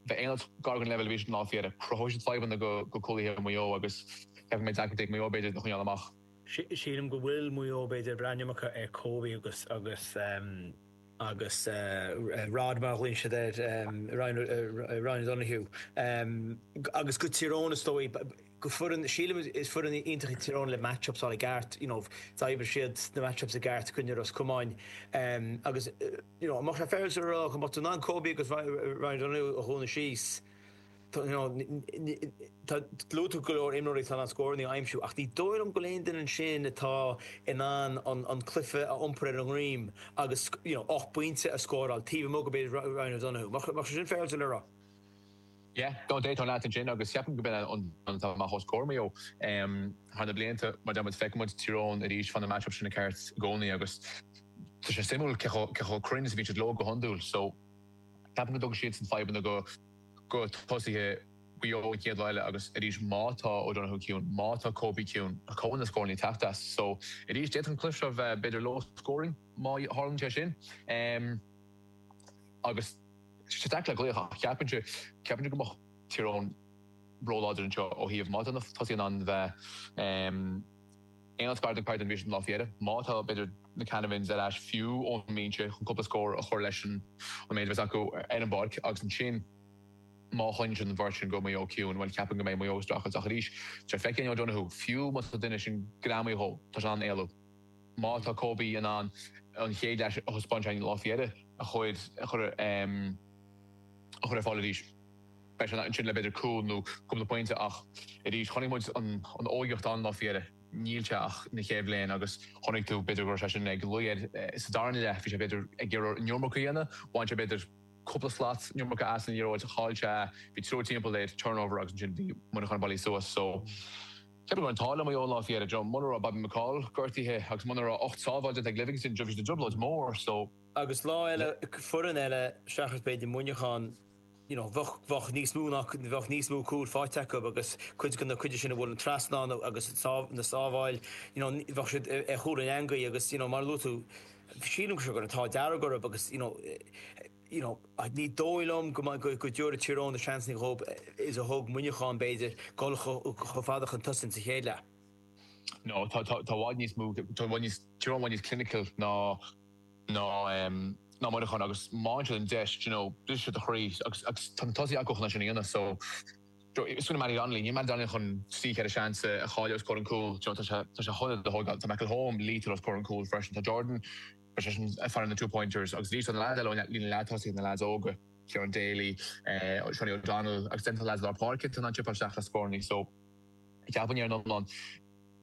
bheith aon áit gar don leibhéal a bhí siad an lá faoi dheireadh, cruthóidh siad fadhbanna do chúlaithe Mhaigh Eo agus ceapaim go mbeidh deacrachtaí ag Maigh Eo b'fhéidir iad a choinneáil amach. Sílim go bhfuil Maigh Eo b'fhéidir ag brath an iomarca ar Kobe agus agus agus Rod mar a ghlaonn siad air, Ryan Ryan O'Donoghue agus go Tír Eoghain is dóigh go foireann sílim is foireann iontach í Tír Eoghain le match-ups a fháil i gceart you know d'oibrigh siad na match-ups i gceart i gcoinne Ros Comáin agus you know an mbeadh sé féaráilte a rá go mbeadh tú in ann Kobe agus Ryan O'Donoghue a dhúnadh síos you know tá luaigh tú go leor imreoirí atá in ann scóranna a aimsiú ach ní dóigh liom go bhfuil aon duine ansin atá in ann an an cluiche a iompar ar a ndroim agus you know 8 bpointe a scóráil taobh amuigh de b'fhéidir Ryan O'Donoghue. Mbeadh sé sin féaráilte le rá? Yeah, no d'aontóinn leat ansin agus ceapaim go b'in an rud atá amach os comhair Maigh Eo thar na blianta mar deir muid feiceann muid Tír Eoghain arís faigheann na match-ups sin i gceart i gcónaí agus tá sé suimiúil cé chomh cruinn is a bhíonn siad leo go hiondúil so ceapaim go dtugann siadsan fadhbanna go go tosaithe Mhaigh Eo an chéad lá eile agus arís má tá O'Donoghue ciúin, má tá Kobe ciúin, cá bhfuil na scóranna ag teacht as? So arís d'fhéadfadh an cluiche seo bheith b'fhéidir low scoring má tharlaíonn sé sin agus tá sé deacair le glaoch ach ceapaimse, ceapaimse go mbeadh Tír Eoghain róláidir anseo ó thaobh má tá na tosaithe in ann bheith aon áit gar don chaighdeán a bhí siad an lá faoi dheireadh, má tá b'fhéidir na Canavans ar ais fiú ón mbinse chun cúpla scór a chur leis an méid a bheas acu ar an bpáirc agus ansin má choinníonn siad an bheirt sin go Maigh Eo ciúin, bhuel ceapaim go mbeidh Maigh Eo ag streachailt ach arís tá sé feicthe againn O'Donoghue, fiú má tá duine sin greamaithe dhó, tá sé in ann éalú. Má tá Kobe in ann an chéad leath a thaispeáin sé an lá faoi dheireadh a chur a chur a chur ar fáil arís, beidh sé ansin le b'fhéidir cúl nó cúpla pointe ach arís chonaic muid an an óigeacht ann an lá faoi dheireadh. Níl sé ach ina chéad bhliain agus chonaic tú b'fhéidir go raibh sé sin ag luí air sa darna leath, bhí sé b'fhéidir ag iarraidh an iomarca a dhéanamh, bhain sé b'fhéidir cúpla slat an iomarca as an liathróid, chaill sé, bhí triúr timpeall air, turnover agus ansin bhí Muineachán bailithe suas so ceapaim go raibh an t-ádh le Maigh Eo an lá faoi dheireadh, you know, muna raibh Bobby McCaul gortaithe agus muna raibh 8 sábháil déanta ag Livingston, bhí siad i dtrioblóid mhór so. Agus lá eile, foireann eile seachas b'fhéidir Muineachán, you know, bheadh, bheadh níos mó ná, bheadh níos mó cúil faighte acu agus cuid de na cuid sin a bhuail an trasnán agus na sábháil, you know, bheadh siad ar chúl an eangaí agus, you know, mar a luaigh tú, sílim go raibh an t-ádh dearg orthu agus, you know, you know, ní dóigh liom go go go dtabharfaidh Tír Eoghain na seansanna dhóibh is a thug Muineachán, b'fhéidir, dul chomh fada chun tosaigh sa chéad leath. No, tá, tá, tá i bhfad níos mó, tá i bhfad níos, Tír Eoghain i bhfad níos clinical ná, ná, ná Muineachán agus má fhaigheann siad an deis, you know, brisfidh siad do chroí agus, agus tá na tosaithe acu chun é sin a dhéanamh so, smaoinigh Mattie Donnelly, níl Mattie Donnelly chun 3, 4 seans a chailleadh os comhair an cúl, you know, tá sé, tá sé chun iad a thógáil, tá McElholm lethal os comhair an cúl freisin, tá Jordan, beidh seisean ag faire na two pointers agus arís tá na leaids eile ón líne leath-tosaithe, na leaids óga, Ciarán Daly, Seanie O'Donnell agus then tá leaids lár páirce atá in ann chipeáil isteach le scórannaí so ceapaim ar an iomlán,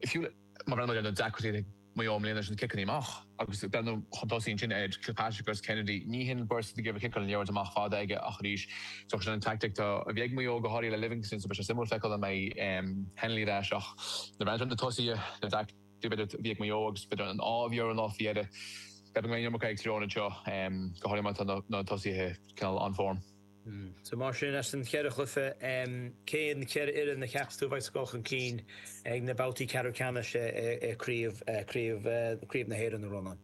fiú má bhreathnaíonn muid ar na deacrachtaí Maigh Eo i mbliana leis na ciceanna amach agus breathnú chun tosaigh ansin ar Kilpatrick agus Kennedy. Ní hin beirt atá ag iarraidh ciceáil an liathróid amach fada aige ach arís is dócha sin an tactic atá a bhí ag Maigh Eo go háirithe le Livingston so beidh sé suimiúil feiceáil an mbeidh Hennelly ar ais ach nuair a bhreathnaíonn tú ar na tosaithe na deacrachtaí b'fhéidir a bhí ag Maigh Eo agus b'fhéidir an ádh a bhí orthu an lá faoi dheireadh ceapaim go mbeidh an iomarca ag Tír Eoghain anseo go háirithe má tá na tosaithe cineál on form. So mar sin, as an cheithre chluiche, cé na ceithre fhoireann a cheapas tú a bheidh ag dul chun cinn ag na babhtaí ceathrú ceannais i gCraobh Craobh na hÉireann, a Rónáin?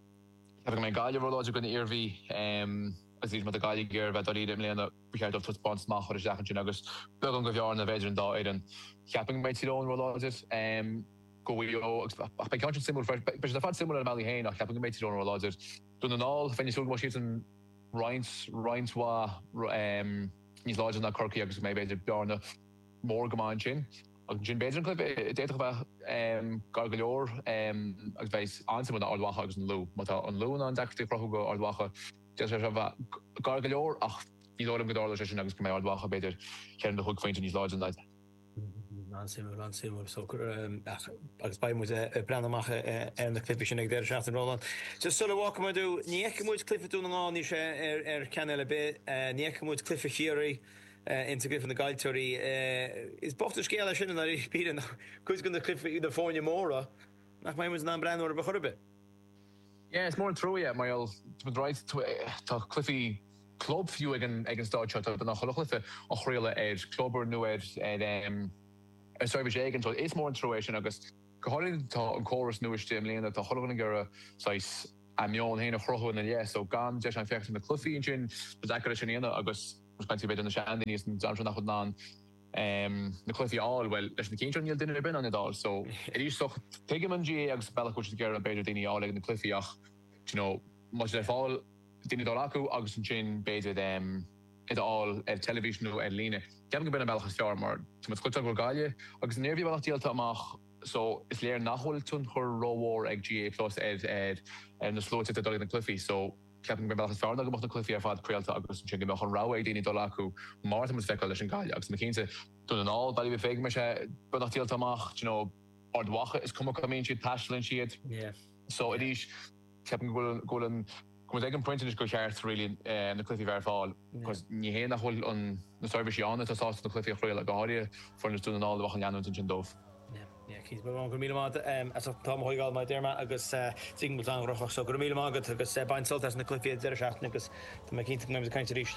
Ceapaim go mbeidh Gaillimh róláidir i gcoinne Iarmhí agus arís má tá Gaillimh ag iarraidh a bheith dáiríre i mbliana, ba cheart dóibh taispeántas maith a chur isteach ansin agus beagán de bhearna b'fhéidir an dá fhoireann. Ceapaim go mbeidh Tír Eoghain róláidir go Mhaigh Eo agus ach beidh ceann sin suimiúil freisin. Beidh siad ar fad suimiúil ar a mbealaí féin ach ceapaim go mbeidh Tír Eoghain róláidir. Dún na nGall, bheinn ag súil go mbeadh siadsan roinnt, roinnt mhaith níos láidre ná Corcaigh agus go mbeidh, b'fhéidir, bearna mór go maith ansin. Agus ansin, b'fhéidir an cluiche a d'fhéadfadh a bheith gar go leor agus bheidh an-suimiúil ná Ard Mhacha agus an Lú. Má tá an Lú in ann deacrachtaí a chruthú go Ard Mhacha, d'fhéadfadh sé seo a bheith gar go leor ach ní dóigh liom go dtarlóidh sé sin agus go mbeidh Ard Mhacha, b'fhéidir, ceithre nó chúig phointe níos láidre ná iad. An-suimiúil, an-suimiúil. So, agus beidh muid ag breathnú amach ar na cluichí sin ag deireadh seachtaine, Rónán. Just sula bhfágfaidh muid thú, ní fheicfidh muid cluiche Dún na nGall, níl sé ar chainéal ar bith, ní fheicfidh muid cluiche Chiarraí insa gcluiche na gcaillteoirí. Is bocht an scéal é sin i ndáiríre, cuid de na cluichí, na foirne móra, nach mbeidh muid in ann breathnú orthu chor ar bith. Yeah, is mór an trua é, mar gheall, right, tá cluichí club fiú ag an ag an staid seo, tá beagnach chuile chluiche á chraoladh ar Clubber nó ar ar ar seirbhís éigin, so is mór an trua é sin agus go háirithe tá an córas nua istigh i mbliana, tá chuile dhuine ag iarraidh saghas a meon féin a chruthú ina leith, so gan deis ann féachaint ar na cluichí ansin, tá deacair é sin a dhéanamh agus. Muid ag caint faoi b'fhéidir na seandaoine is an dream seo nach bhfuil in ann na cluichí a fháil, bhuel leis na cinn seo níl duine ar bith in ann iad a fháil. So arís so tuigim an GAA agus an bealach go bhfuil siad ag iarraidh b'fhéidir daoine a fháil ag na cluichí ach do you know má tá siad ar fáil daoine dul acu agus ansin b'fhéidir iad a fháil ar teilifís nó ar líne. Ceapaim gurb in an bealach is fearr mar tá muid ag cloisteáil go bhfuil Gaillimh agus an Iarmhí beagnach díolta amach so is léir nach bhfuil tionchar rómhór ag GAA Plus ar ar na sluaite atá ag dul ag na cluichí so ceapaim gurb é an bealach is fearr ná go mbeadh na cluichí ar fad craolta agus ansin go mbeadh an rogha ag daoine dul acu mar atá muid ag feiceáil leis an Gaillimh agus tá mé cinnte Dún na nGall, Baile Bhib go mbeidh sé beagnach díolta amach, do you know, Ard Mhacha is cuma cá mbíonn siad taistealaíonn siad. So arís ceapaim go bhfuil go bhfuil an go bhfuil ag an pointe anois gur cheart really na cluichí a bheith ar fáil because ní hé nach bhfuil an na seirbhísí ann atá sásta na cluichí a chraoladh, go háirithe foireann Dún na nGall a bheadh an leanúint ansin dóibh. Yeah, cinnte. Go raibh míle maith agat as ucht an t-am a thógáil mar a deir mé agus tuigim go bhfuil tú an-ghnóthach so go raibh míle maith agat agus bain sult as na cluichí ag deireadh seachtaine agus tá mé cinnte go mbeimid ag caint arís.